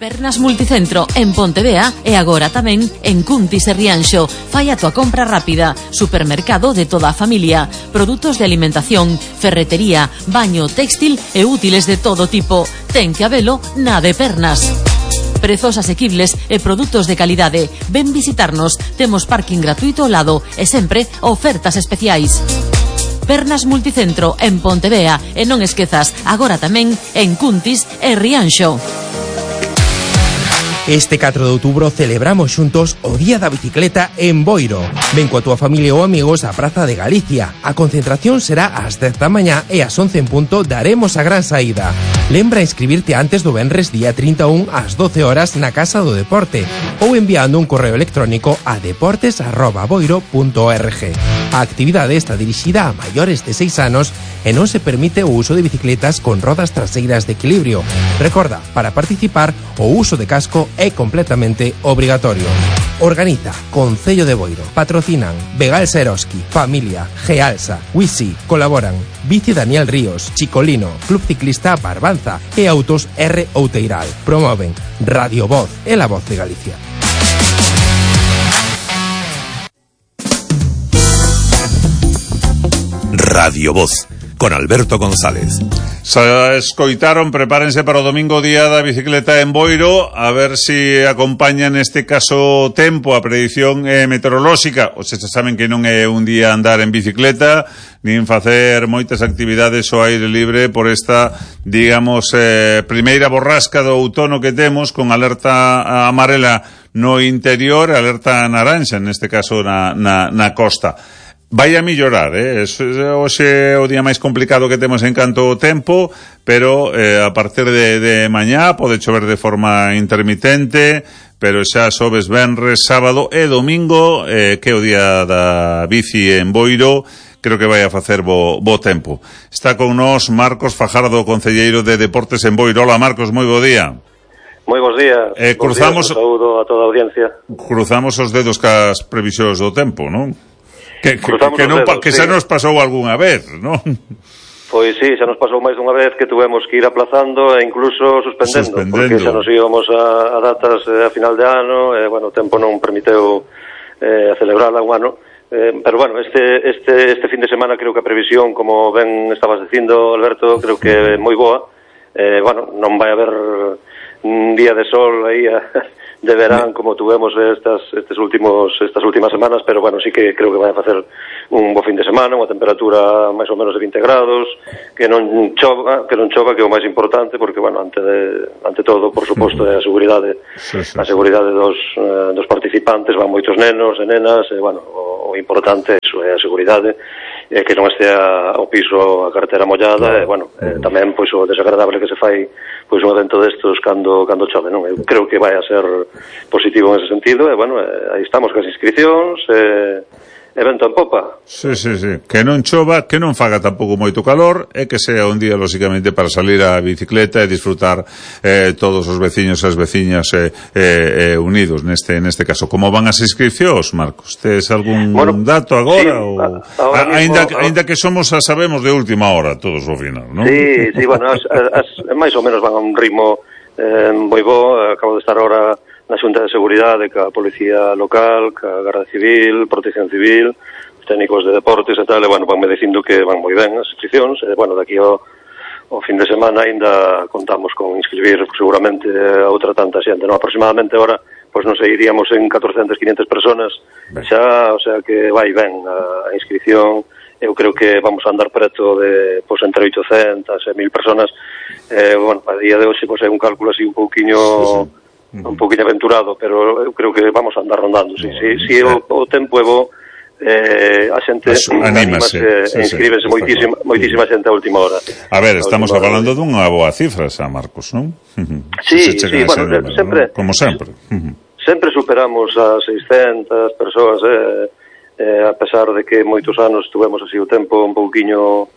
Pernas Multicentro en Pontevea e agora tamén en Cuntis e Rianxo. Fai a tua compra rápida. Supermercado de toda a familia. Produtos de alimentación, ferretería, baño, téxtil e útiles de todo tipo. Ten que habelo na de Pernas. Prezos asequibles e produtos de calidade. Ven visitarnos. Temos parking gratuito ao lado e sempre ofertas especiais. Pernas Multicentro en Pontevea e non esquezas, agora tamén en Cuntis e Rianxo. Este 4 de outubro celebramos xuntos o Día da Bicicleta en Boiro. Ven coa túa familia ou amigos á Praza de Galicia. A concentración será ás 10 da mañá e ás 11 en punto daremos a gran saída. Lembra inscribirte antes do venres día 31 ás 12 horas na Casa do Deporte ou enviando un correo electrónico a deportes@boiro.org. A actividade está dirixida a maiores de 6 anos e non se permite o uso de bicicletas con rodas traseiras de equilibrio. Recorda, para participar, o uso de casco é completamente obrigatorio. Organiza Concello de Boiro. Patrocinan Begal Seroski, Familia, Gealsa, Wisi. Colaboran Bici Daniel Ríos, Chicolino, Club Ciclista Barbanza e Autos R. Outeiral. Promoven Radio Voz e la Voz de Galicia. Radio Voz, con Alberto González. Se escoitaron, prepárense para o domingo, Día da Bicicleta en Boiro, a ver se acompaña neste caso tempo a predición meteorolóxica. O se saben que non é un día andar en bicicleta, nin facer moitas actividades ao aire libre por esta, digamos, primeira borrasca do outono que temos, con alerta amarela no interior, alerta naranxa, neste caso na costa. Vai a mellorar, hoxe é o día máis complicado que temos en canto ao tempo, pero a partir de mañá pode chover de forma intermitente, pero xa xoves, venres, sábado e domingo, que é o día da bici en Boiro, creo que vai a facer bo tempo. Está con nós Marcos Fajardo, concelleiro de Deportes en Boiro. Hola Marcos, moi bo día. Moi bons días. Cruzamos, saúdo a toda a audiencia. Cruzamos os dedos cas previsións do tempo, non? Que xa nos pasou algunha vez, non? Pois sí, xa nos pasou máis dunha vez que tuvemos que ir aplazando e incluso suspendendo. Porque xa nos íbamos a datas a final de ano e, bueno, o tempo non permiteu a celebrarla un ano. Pero, bueno, este fin de semana creo que a previsión, como ben estabas dicindo, Alberto, creo que é moi boa. Bueno, non vai haber un día de sol aí de verán como tuvemos estas últimas semanas, pero bueno, sí que creo que vai a facer un bo fin de semana, unha temperatura máis ou menos de 20 grados, que non chova, que é o máis importante, porque bueno, ante todo, por suposto, é a seguridade, a seguridade dos participantes, van moitos nenos e nenas, e bueno, o importante é iso, é a seguridade, que non estea ao piso a cartera mollada, e bueno, tamén pois o desagradable que se fai pois un evento destos cando chove, non? Eu creo que vai a ser positivo en ese sentido, e bueno, aí estamos cas inscripcións, evento en popa. Sí. Que non chova, que non faga tampouco moito calor, e que sea un día, lóxicamente, para salir a bicicleta e disfrutar todos os veciños e as veciñas unidos neste caso. Como van as inscripcións, Marcos? Tes algún dato agora? Sí, ainda que sabemos de última hora, todos ao final, non? Sí, bueno, máis ou menos van a un ritmo moi bo. Acabo de estar ahora na Xunta de Seguridade, ca Policía Local, ca Garda Civil, Protección Civil, os técnicos de deportes e tal, e bueno, vanme dicindo que van moi ben as inscripcións, e bueno, daqui ao fin de semana ainda contamos con inscribir seguramente a outra tanta xente, non? Aproximadamente ahora, pois non sei, iríamos en 400, 500 personas xa, o sea que vai ben a inscripción. Eu creo que vamos a andar preto de, pois, entre 800 e 1000 personas. Bueno, a día de hoxe, pois, é un cálculo así un pouquiño aventurado, pero eu creo que vamos a andar rondando. Si o tempo é bo, a xente anímase, inscríbese moitísima xente a última hora. A ver, estamos falando dunha boa cifra, xa, Marcos, non? Sí, bueno, sempre, como sempre. Sempre superamos as 600 persoas, a pesar de que moitos anos tuvemos así o tempo un pouquiño,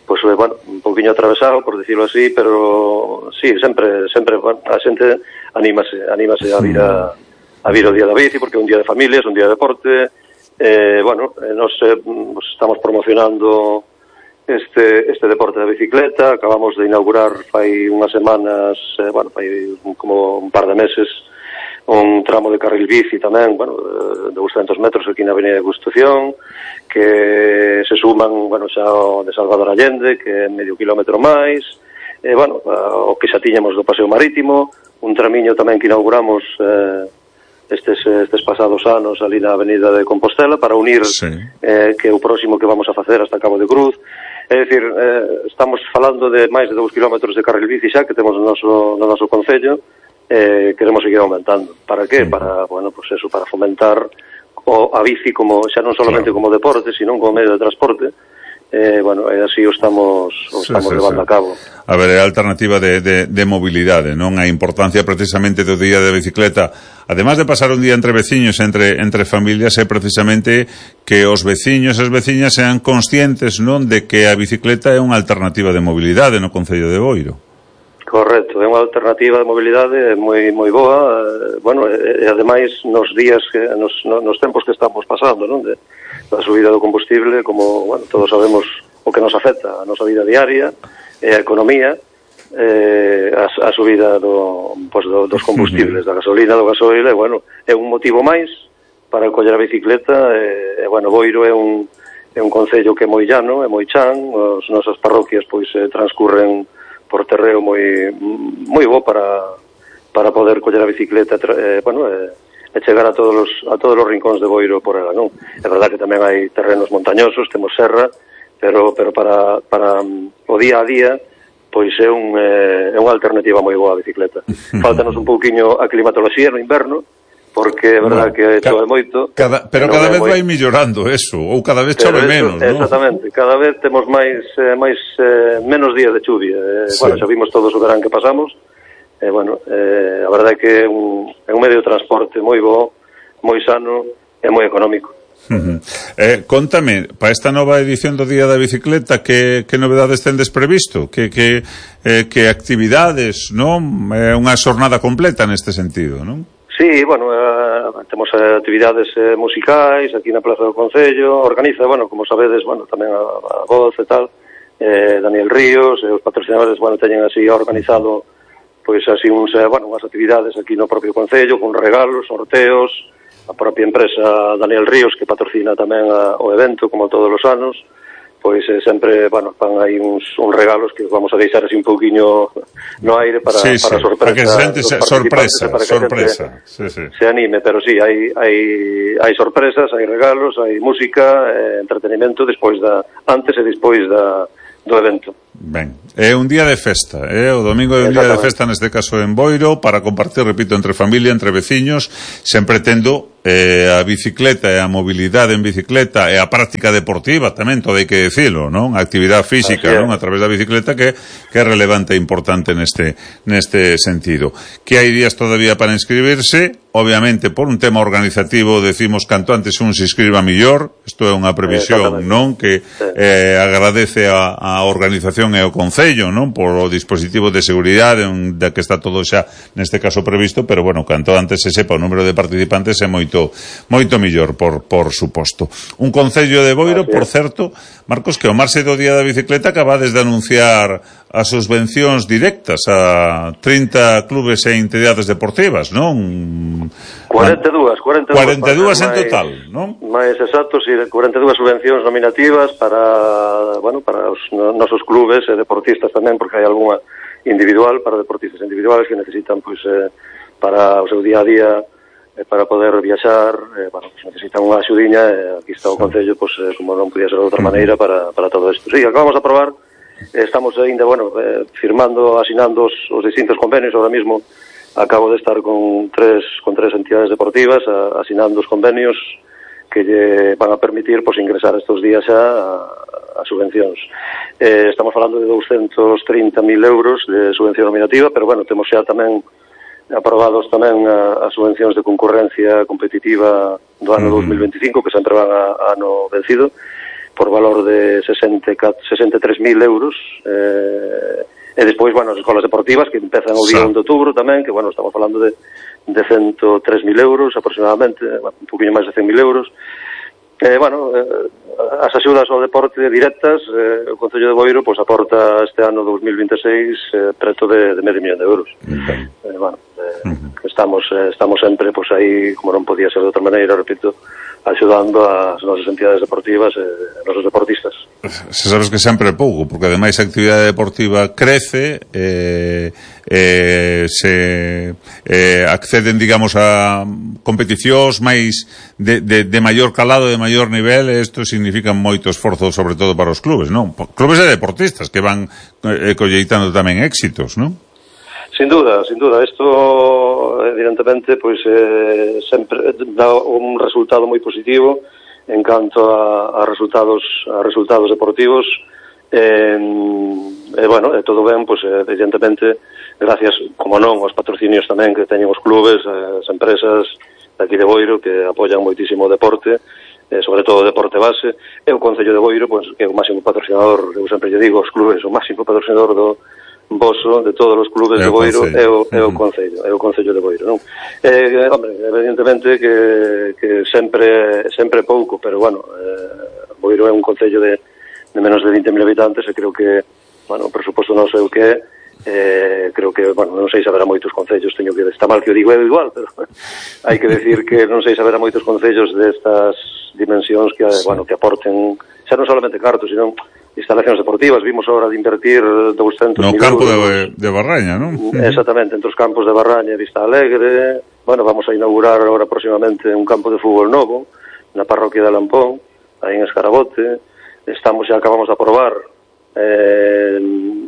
pois, bueno, un pouquiño atravesado, por decirlo así, pero sí, sempre, bueno, a xente anímase a vir o día da bici, porque é un día de familias, un día de deporte. Bueno, nos estamos promocionando este deporte da bicicleta. Acabamos de inaugurar fai unhas semanas, fai como un par de meses, un tramo de carril bici tamén, de 200 metros aquí na Avenida de Constitución, que se suman, xa o de Salvador Allende, que é medio kilómetro máis, o que xa tiñamos do paseo marítimo, un tramiño tamén que inauguramos estes pasados anos ali na Avenida de Compostela para unir que o próximo que vamos a facer hasta Cabo de Cruz. É dicir, estamos falando de máis de 2 kilómetros de carril bici xa que temos no noso concello. Queremos seguir aumentando. Para qué? Para, para fomentar a bici como xa non solamente como deporte, sino como medio de transporte. E así o estamos levando a cabo. A ver, é a alternativa de mobilidade, non? A importancia precisamente do día de bicicleta, además de pasar un día entre veciños, entre familias, é precisamente que os veciños e as veciñas sean conscientes, non, de que a bicicleta é unha alternativa de mobilidade no concello de Boiro. Correcto, é unha alternativa de mobilidade moi boa, e ademais nos días nos tempos que estamos pasando, non, da subida do combustible, como, todos sabemos o que nos afecta a nosa vida diaria e a economía, a subida dos combustibles, da gasolina, do gasoil, é un motivo máis para coller a bicicleta. Boiro é un concello que é moi llano, é moi chan, as nosas parroquias transcurren por terreo moi bo para poder coller a bicicleta e chegar a todos os rincóns de Boiro por ela, non? É verdade que tamén hai terrenos montañosos, temos serra, pero para o día a día é unha alternativa moi boa a bicicleta. Faltanos un pouquiño a climatoloxía no inverno, porque é verdade que chove moito. Pero cada vez vai mellorando eso, ou cada vez chove menos, non? Exactamente, cada vez temos menos días de chuvia. Xa vimos todos o verán que pasamos. A verdade é que é un medio de transporte moi bo, moi sano e moi económico. Contame, para esta nova edición do Día da Bicicleta, que novedades tendes previsto? Que actividades, non? É unha xornada completa neste sentido, non? Sí, temos actividades musicais aquí na Plaza do Concello, organiza, como sabedes, tamén a Voz e tal, Daniel Ríos, e os patrocinadores, teñen así organizado así unhas actividades aquí no propio Concello, con regalos, sorteos, a propia empresa Daniel Ríos, que patrocina tamén o evento, como todos os anos, sempre, van aí uns regalos que vamos a deixar así un pouquiño no aire para sorpresa. Para que sorpresa. Se anime, pero sí, hai sorpresas, hai regalos, hai música, entretenimento antes e despois do evento. Ben, é un día de festa, o domingo é un día de festa, neste caso en Boiro, para compartir, repito, entre familia, entre veciños, sempre tendo a bicicleta e a mobilidade en bicicleta e a práctica deportiva tamén, todo hai que decilo, non? A actividade física, non? A través da bicicleta que é relevante e importante neste sentido. Que hai días todavía para inscribirse, obviamente por un tema organizativo decimos canto antes un se inscriba millor, isto é unha previsión, non? Que agradece a organización e o Concello, non? Por o dispositivo de seguridade da que está todo xa neste caso previsto, pero canto antes se sepa o número de participantes é moito millor, por suposto. Un Concello de Boiro, por certo, Marcos, que o marxe do Día da Bicicleta acabades de anunciar as subvencións directas a 30 clubes e entidades deportivas, non? 42 en total, non? Mais exacto, sí, 42 subvencións nominativas para os nosos clubes e deportistas tamén, porque hai algunha individual para deportistas individuales que necesitan para o seu día a día, para poder viaxar, necesitan unha axudiña, e aquí está o Concello, como non podía ser de outra maneira, para todo isto. Sí, acabamos de aprobar, estamos ainda, asinando os distintos convenios. Ahora mismo acabo de estar con tres entidades deportivas asinando os convenios que lle van a permitir ingresar estes días a subvencións. Estamos falando de 230.000 euros de subvención nominativa, pero temos xa tamén aprobados tamén as subvencións de concurrencia competitiva do ano 2025, que sempre van a ano vencido, por valor de 63.000 euros, e despois, as escolas deportivas que empezan o día 1 de outubro tamén, que, estamos falando de 103.000 euros aproximadamente, un poquinho máis de 100.000 euros, Bueno, as axudas ao deporte directas, o Concello de Boiro pois aporta este ano 2026 preto de medio millón de euros. Bueno, estamos sempre pois aí, como non podía ser de outra maneira, repito, axudando as nosas entidades deportivas e os nosos deportistas. Se sabes que sempre é pouco, porque ademais a actividade deportiva crece, se acceden, digamos, a competicións máis de maior calado, de maior nivel, e isto significa moito esforzo, sobre todo para os clubes, non? Clubes e deportistas que van colleitando tamén éxitos, non? Sin duda, isto evidentemente pois sempre dá un resultado moi positivo en canto a resultados deportivos bueno, todo ben, pois evidentemente gracias, como non, aos patrocinios tamén que teñen os clubes, as empresas de aquí de Boiro que apoian moitísimo o deporte, sobre todo o deporte base, e o Concello de Boiro, pois, que é o máximo patrocinador, eu sempre lle digo aos clubes, o máximo patrocinador do voso, de todos os clubes de Boiro, é o Concello de Boiro, non? Hombre, evidentemente que sempre pouco, pero bueno, Boiro é un concello de menos de 20.000 habitantes e creo que, bueno, o presuposto non sei o que creo que, bueno, non sei se haberá moitos concellos, está mal que o digo igual, pero hai que decir que non sei se haberá moitos concellos destas dimensións que, bueno, que aporten, xa non solamente cartos, sino instalacións deportivas. Vimos ahora de invertir 200.000 euros. No campo de Barraña, non? Exactamente, entre os campos de Barraña e Vista Alegre. Bueno, vamos a inaugurar ahora próximamente un campo de fútbol novo na parroquia de Lampón, aí en Escarabote. Acabamos de aprobar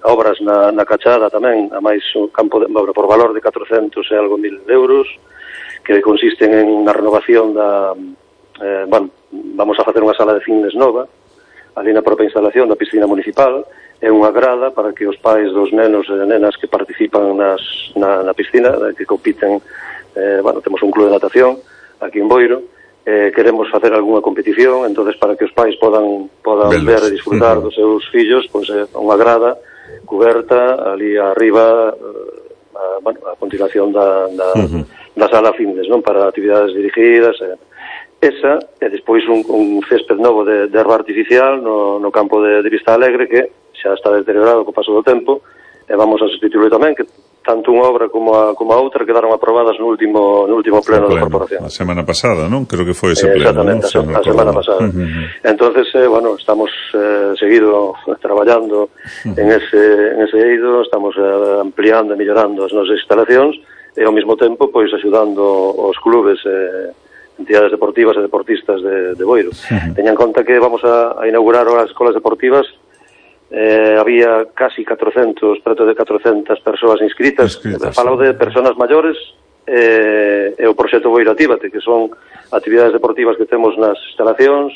obras na Cachada tamén, a máis un campo por valor de 400 e algo mil euros, que consisten en na renovación bueno, vamos a facer unha sala de fitness nova ali na propia instalación da piscina municipal, é unha grada para que os pais dos nenos e nenas que participan na piscina, que compiten, bueno, temos un club de natación aquí en Boiro, queremos facer algunha competición, entonces para que os pais podan ver e disfrutar dos seus fillos, pois unha grada coberta ali arriba, bueno, a continuación da sala fitness, non, para actividades dirigidas, esa, e despois un césped novo de erva artificial no campo de Vista Alegre, que xa está deteriorado co paso do tempo, e vamos a sustituirlo tamén, que tanto unha obra como a outra quedaron aprobadas no último pleno da corporación. A semana pasada, non? Creo que foi ese pleno. Exactamente, a semana pasada. Entonces, bueno, estamos seguido traballando en ese eido, estamos ampliando e mellorando as nosas instalacións, e ao mesmo tempo, pois, axudando os clubes entidades deportivas e deportistas de Boiro. Teñan en conta que vamos a inaugurar as escolas deportivas, había casi 400, preto de 400 persoas inscritas. Falou de persoas maiores e o proxecto Boiro Actívate, que son actividades deportivas que temos nas instalacións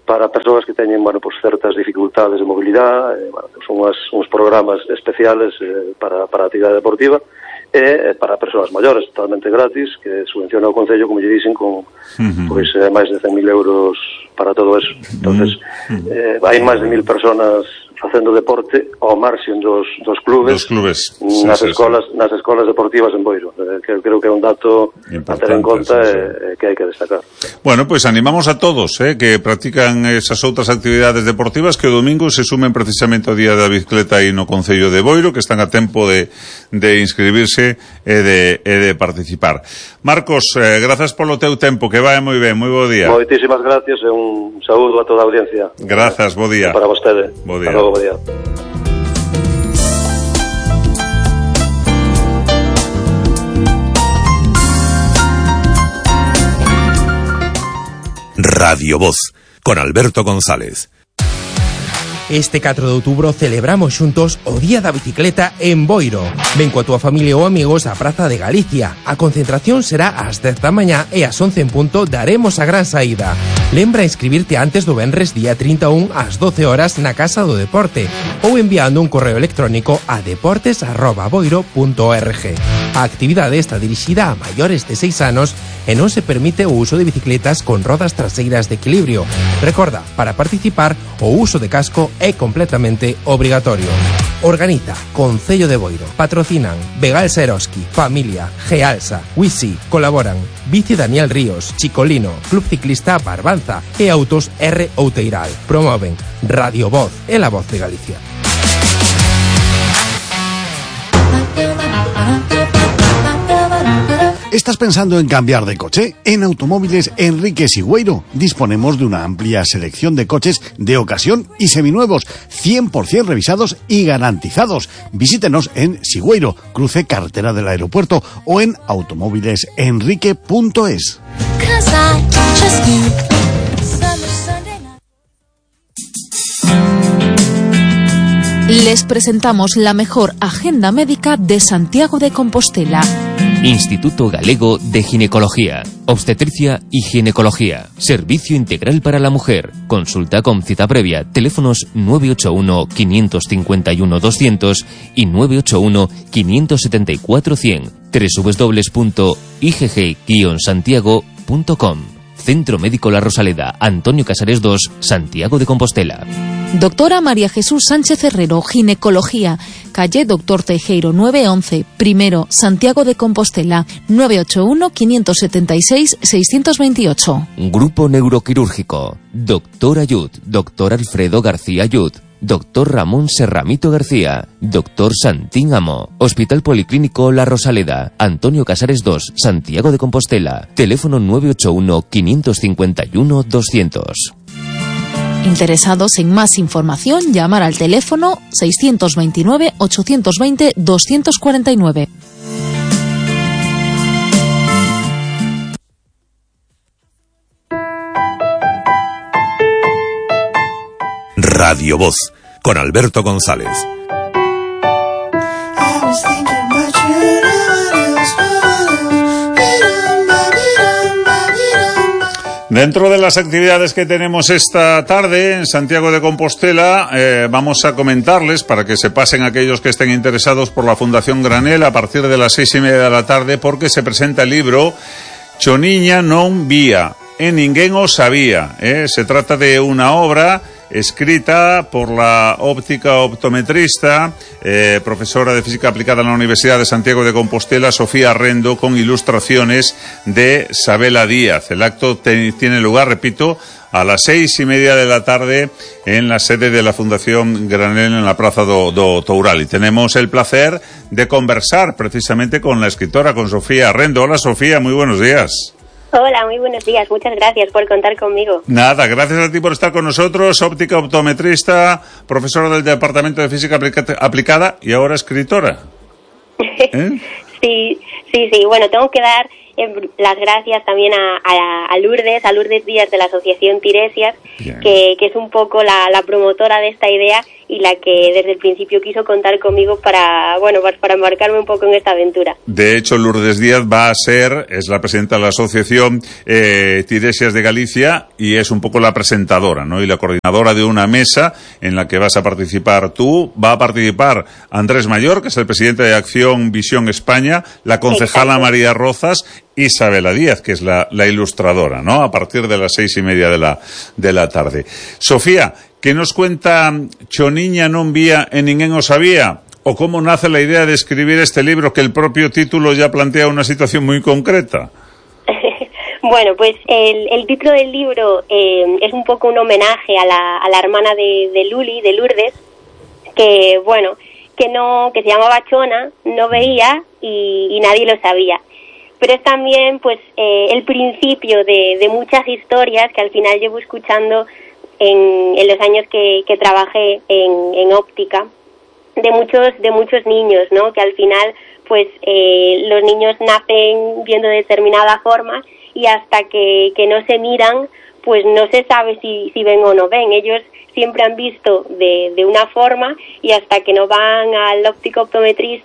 para persoas que teñen, bueno, pues, certas dificultades de mobilidade, bueno, son uns programas especiales para a actividade deportiva, e para persoas maiores, totalmente gratis, que subvenciona o Concello, como lle dicen, con pois máis de 100.000 euros para todo eso. Entonces, hai máis de 1.000 personas facendo deporte ao marxen dos clubes nas escolas deportivas en Boiro, que creo que é un dato a ter en conta e que hai que destacar. Bueno, pois animamos a todos que practican esas outras actividades deportivas que o domingo se sumen precisamente ao Día da Bicicleta aí no Concello de Boiro, que están a tempo de inscribirse e de participar. Marcos, grazas polo teu tempo, que vai moi ben, moi bo día. Moitísimas gracias e un saúdo a toda a audiencia. Grazas, bo día. Para vostede. Bo día. Bo día. Radio Voz, con Alberto González. Este 4 de outubro celebramos xuntos o Día da Bicicleta en Boiro. Ven coa túa familia ou amigos á Praza de Galicia. A concentración será ás 10 da mañá e ás 11 en punto daremos a gran saída. Lembra inscribirte antes do venres día 31 ás 12 horas na Casa do Deporte ou enviando un correo electrónico a deportes@boiro.org. A actividade está dirixida a maiores de 6 anos e non se permite o uso de bicicletas con rodas traseiras de equilibrio. Recorda, para participar, o uso de casco é completamente obrigatorio. Organiza Concello de Boiro. Patrocinan Vegal Seroski, Familia, Gealsa, Wisi. Colaboran Bici Daniel Ríos, Chicolino, Club Ciclista Barbanza e Autos R. Outeiral. Promoven Radio Voz e la Voz de Galicia. ¿Estás pensando en cambiar de coche? En Automóviles Enrique Sigüeiro disponemos de una amplia selección de coches de ocasión y seminuevos, 100% revisados y garantizados. Visítenos en Sigüeiro, cruce carretera del aeropuerto, o en automóvilesenrique.es. Les presentamos la mejor agenda médica de Santiago de Compostela. Instituto Galego de Ginecología, Obstetricia y Ginecología. Servicio integral para la mujer. Consulta con cita previa. Teléfonos 981-551-200 y 981-574-100. www.igg-santiago.com. Centro Médico La Rosaleda, Antonio Casares 2, Santiago de Compostela. Doctora María Jesús Sánchez Herrero, Ginecología, calle Doctor Teijeiro 911, primero, Santiago de Compostela, 981-576-628. Grupo Neuroquirúrgico, Doctor Ayud, Doctor Alfredo García Ayud, Doctor Ramón Serramito García, Doctor Santín Amo, Hospital Policlínico La Rosaleda, Antonio Casares 2, Santiago de Compostela, teléfono 981-551-200. Interesados en más información, llamar al teléfono 629-820-249. Radio Voz, con Alberto González. Dentro de las actividades que tenemos esta tarde en Santiago de Compostela, vamos a comentarles, para que se pasen aquellos que estén interesados por la Fundación Granel, a partir de las 6:30 de la tarde, porque se presenta el libro Choniña non vía, e ninguén o sabía. Se trata de una obra escrita por la óptica optometrista, profesora de física aplicada en la Universidad de Santiago de Compostela, Sofía Rendo, con ilustraciones de Sabela Díaz. El acto tiene lugar, repito, a las 6:30 de la tarde en la sede de la Fundación Granel en la Praza do Toural. Y tenemos el placer de conversar precisamente con la escritora, con Sofía Rendo. Hola, Sofía, muy buenos días. Hola, muy buenos días. Muchas gracias por contar conmigo. Nada, gracias a ti por estar con nosotros. Óptica optometrista, profesora del Departamento de Física Aplicada y ahora escritora. Sí. Bueno, tengo que dar las gracias también a Lourdes Díaz de la Asociación Tiresias, que es un poco la promotora de esta idea y la que desde el principio quiso contar conmigo para embarcarme un poco en esta aventura. De hecho, Lourdes Díaz es la presidenta de la Asociación Tiresias de Galicia y es un poco la presentadora, ¿no? Y la coordinadora de una mesa en la que vas a participar tú. Va a participar Andrés Mayor, que es el presidente de Acción Visión España, la concejala Exacto. María Rozas, Isabela Díaz, que es la ilustradora, ¿no? A partir de las 6:30 de la tarde. Sofía, ¿qué nos cuenta Choniña non vía e ninguén o sabía? ¿O cómo nace la idea de escribir este libro, que el propio título ya plantea una situación muy concreta? Bueno, pues el título del libro es un poco un homenaje a la hermana de Luli, de Lourdes, que se llamaba Chona, no veía y nadie lo sabía. Pero es también pues el principio de muchas historias que al final llevo escuchando en los años que trabajé en óptica, de muchos niños, ¿no? Que al final pues los niños nacen viendo de determinada forma y hasta que no se miran pues no se sabe si ven o no ven. Ellos siempre han visto de una forma y hasta que no van al óptico optometrista